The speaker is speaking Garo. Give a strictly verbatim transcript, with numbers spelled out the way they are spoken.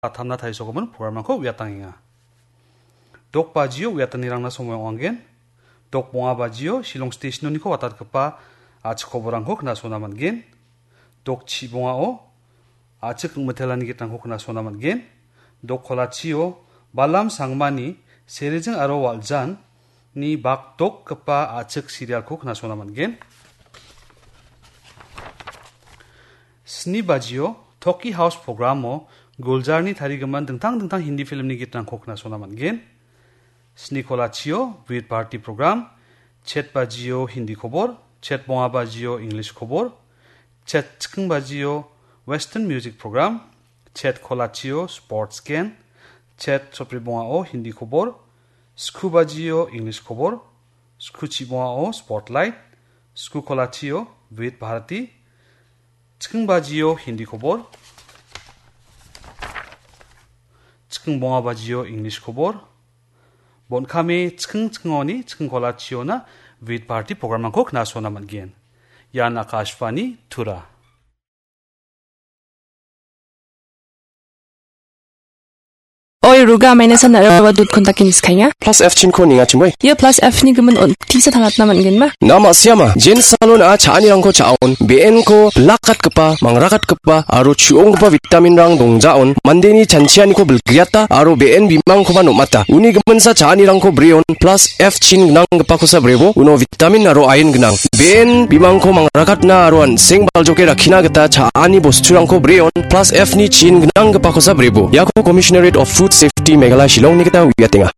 atamna tarisogimin programrangko uiatangenga. Dok bajio uiatanirangna somoi ong·angen. Dok bonga bajio Shillong Stationoniko watatgipa a·chik koborangko knasona man·gen. Dok chibongao a·chik ingmitelani gitrangko knasona man·gen. Dok kolachio Balam Sangmani Serijing aro Waljanni bakdokgipa a·chik serialko knasona man·gen. Sni bajio Toki House programo Gulzarni tarigimin dingtang dingtang Hindi filmni gitrangko knasona man·gen. Sni kolachio Vividh Bharati program, chet bajio Hindi kobor, chet bonga bajio English kobor, chet chiking bajio Western music program, chet kolachio sports gen, chet sotbri bongao Hindi kobor, sku bajio English kobor, sku chibongao spotlight, sku kolachio Vividh Bharati, chiking bajio Hindi kobor, chiking bonga bajio English kobor, bon·kame chiking chikingoni chiking kolachiona Vividh Bharati programrangko knasona man·gen. Ian Akashvani Tura. Oi, Ruga, amaina san nara wa dut kontak ini skanya. Plus F chinko ninga chimoi. Ia plus F ni gimin on. Tisa tangatna man·gen ma? Nama siama, Jen Salon a cha·anirangko cha·on, B N ko bilakatgipa, mangrakatgipa, aro chu·onggipa vitaminrang dongjaon, mandeni chanchianiko bilgriata, aro B N bimangkoba nom·ata. Uni giminsa cha·anirangko breon, plus F chin gnanggipakosa brebo, uno vitamin aro iron gnang. B N bimangko mangrakatna aro an·seng baljoke rakkina gita cha·ani bosturangko breon, plus F ni chin gnanggipakosa brebo. Iako Commissionerate of Food Safety Meghalaya Shillongni gita uiatenga.